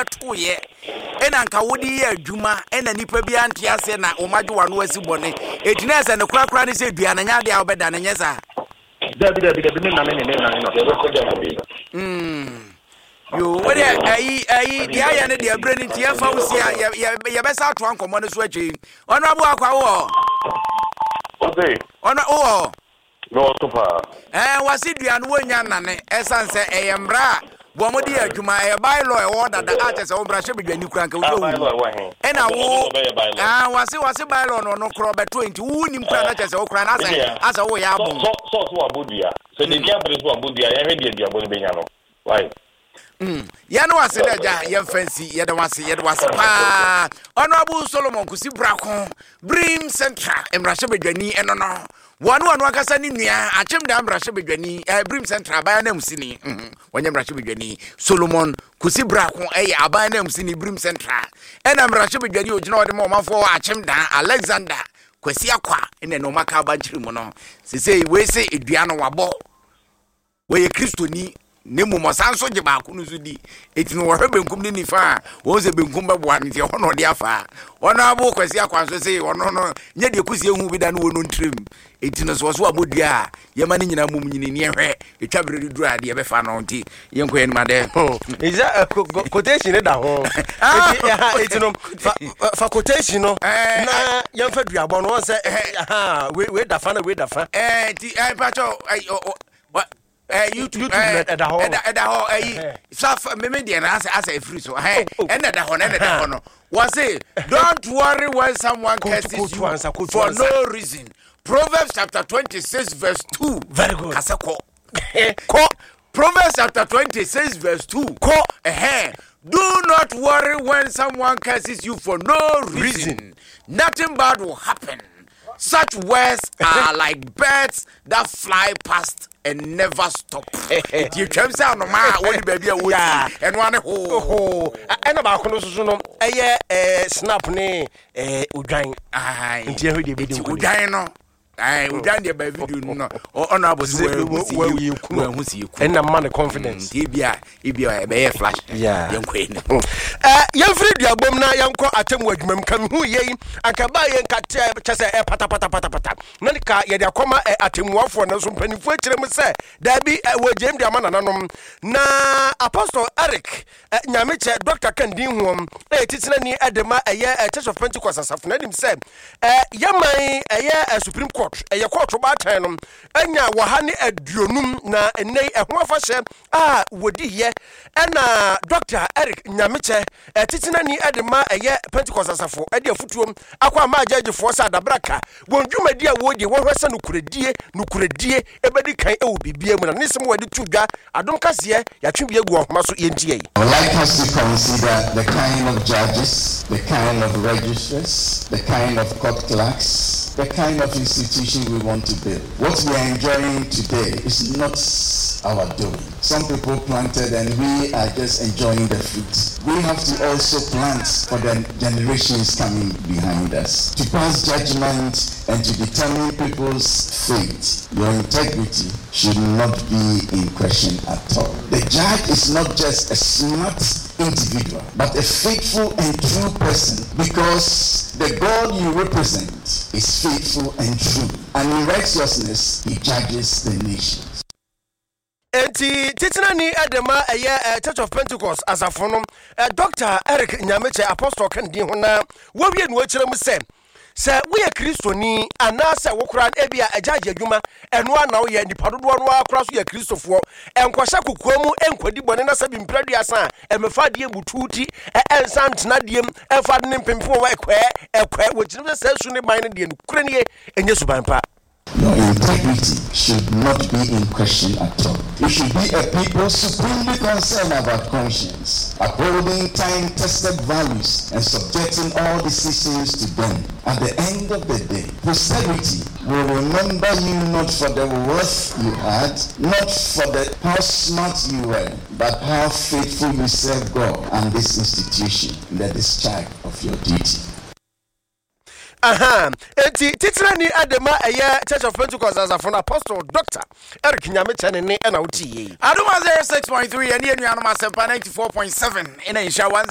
wobɛtoeɛ ɛna nka wode yɛ adwuma ɛna nnipa bi ante aseɛ na wɔn adwe w'ano asi bɔne. Eti na ɛsɛ ne korakora ne sɛ dua no nyɛ adeɛ a wobɛda no nyɛ saa. Dabi dabi dabi me nane ne me nane no. Yo, wo deɛ ayi ayi deɛ ayɛ no deɛ berɛ no nti yɛmfa wo si a yɛbɛsa atoa nkɔmmɔ no so akyiri. Ɔno abo akwa wowɔ hɔ? Ɔno wowɔ hɔ? Mewɔ so paa. Ɛɛ wɔse dua no wɔnnya nnane ɛsiane sɛ ɛyɛ mmara a wɔn de yɛ adwuma ɛyɛ by law ɛwɔ hɔ dada a kyɛ sɛ wo mmarahyɛ badwani kura nka Ah, wosɛ by wo law ɛwɔ he? ɛna Ɔsɛ wo ɔno na ɔbɛyɛ by law. ah wɔse wɔse by law no ɔno korɔ ɔbɛto nti wo nim kura na kyɛ sɛ wo kura na Me asɛ nua, asɛ woyɛ sɛ abɔn. sɛ sɛ ɔsɛ wabɔ dua. Sɛ n'ani abere sɛ wabɔ dua a, yɛnhwɛ deɛ duabɔ no bɛnya no. Wai? Yɛne wase dɛ agya yɛmfa nsi yɛda wase yɛda wase paa Honorable Solomon Kusi Brako Brim Central mmarahyɛbadwani ɛno no wɔne wɔn ankasa ne nua Akyemdaa mmarahyɛbadwani eh, Brim Central aban ananmusini mm, wɔnyɛ mmarahyɛbadwani Solomon Kusi Brako ɛyɛ aban ananmusini Brim Central ɛna mmarahyɛbadwani ogyina ɔde ma ɔmanfoɔ wɔ Akyemdaa Alexander Kwasi Akwa ɛna ɛna ɔmaka abankyere mu no sesei wei se edua no wabɔ Ɔyɛ Kristoni, na mmom ɔsan nso gye baako no nso di. Enti no wɔhwɛ benkum ne nifa a, wɔn sɛ benkum bɛboa no, nti ɛhɔ na ɔde afa. Ɔno abo Kwasi Akwan so se ɔno no nyɛ deɛ kusie hu bi da no wɔ no ntirim. Enti no so ɔso abɔ dua a, yɛma ne nyinaa mum nyini ne ɛhwɛ ɛtwa berɛ de duru a deɛ ɛbɛfa no nti yɛnkɔ yɛn anim adɛ. Is that quotation ne da ho? Eti ɛha eti no fa fa quotation no na yɛmfa duabɔ no wɔn sɛ ɛha wei wei da fa na wei da fa. Ɛɛ ti ɛɛ mpatsɔ ɛɛ ɔ youtube ɛda hɔ ɛda ɛda hɔ ɛyi safa mímí deɛ na asɛ asɛ efiri so ɛhɛn ɛna ɛda hɔ no ɛna ɛda hɔ no wɔsi don't worry when someone curses you for no reason Proverbs chapter 26 verse 2. Very good. Kasa kɔ. Kɔ. Proverbs chapter 26 verse 2. Kɔ. Ɛhɛn. Do not worry when someone curses you for no reason. Reason. Nothing bad will happen. Such words are like birds that fly past and never stop. Nti etwam sɛ anomaa a wɔde baabi a wɔsi ɛno ane hoo. Hoo. Ɛna baako no soso no ɛyɛ ɛɛ snap ne ɛɛ odwan. Nti ɛhwɛ deɛ ebedi nkunim. Odwan no. Ɛɛ odwan deɛ baa video no no ɔno abɔ so wɔahu si yɛ kunu. Ɛna mma ne confidence. Nti ebi a ebi a ɛbɛyɛ flash. Yɛn kɔ yɛn. Ɛ yɛmfiri duabom na yɛnkɔ atemmu adwuma mu ka mehu yei anka baa yɛ nka kyɛ sɛ ɛ patapatapatapata na ka yɛde akɔma ɛ atemmuafoɔ nanso mpanimfoɔ akyerɛ mu sɛ daabi ɛ wɔgyem de ama nananom na Apostle Eric ɛ Nyamekyɛ Dr. Kandin Hoɔm ɛyɛ titenani ɛde ma ɛyɛ ɛ Church of Pentecost asafo no anim sɛ ɛ yɛman ɛyɛ ɛ Supreme Court ɛyɛ kɔɔto baatan no anya wɔha ne aduonum na ɛnnɛ yi ɛho afahyɛ a wɔdiiɛ ɛna Dɔkta Eric Nyamekyɛ, titenani de ma ɛyɛ Pentecost asafo de afotuo akɔ ama agyɛgyefoɔ sɛ adabraka wɔn dwumadi a wɔredie wɔhwɛ sɛ nokorɛdie nokorɛdie ɛbɛdi kan wɔ biribiara mu na ne nsɛm wɔde to dwa adom kaseɛ yɛatwe bi agu ahoma so yɛntie yi. I would like us to consider the kind of judges, the kind of registrars, the kind of court clerks, the kind of institution we want to build. What we are enjoying today is not our doing. Some people planted and we are just enjoying the fruit. We have to also plant for the generations coming behind us. To pass judgment and to determine people's fate, your integrity should not be in question at all. The judge is not just a smart individual, but a faithful and true person because the God you represent is faithful and true, and in righteousness he judges the nations. Enti titenani de ma ɛyɛ Church of Pentecost asafo no, Dɔkta Eric Nyamekyɛ, Apostle ka ne din ho na wawie no akyerɛ mu sɛ, Sɛ woyɛ Kristoni anaasɛ wo koraa no ebia agyaagye adwuma ɛno ara na woyɛ, nnipa dodoɔ no ara koraa so yɛ Kristofoɔ, nkɔhyɛ kokoa mu nkɔdi bɔne na sɛbi mprɛ aduasa a ɛmɛfa adeɛ mbutu ti ɛnsan ntena adeɛ mu ɛmfa ade ne mpempem wɔ ɛkɔɛ ɛkɔɛ wɔgyina sɛ saa su ne ban no deɛ nokorɛ nie ɛnyɛ suban pa. Your integrity should not be in question at all. You should be a people supremely concerned about conscience, upholding time-tested values and subjecting all decisions to them. At the end of the day, posterity will remember you not for the wealth you had, not for the how smart you were, but how faithful you served God and this institution in the discharge of your duty. Aha, enti titenani de ma ɛyɛ Church of Pentecost asafo no Apostle Dr. Eric Nyamekyɛ ne ne ɛna wotie yei. Adom 106.3 ɛne anuanom Asɛmpa 94.7 ɛna nhyira 1.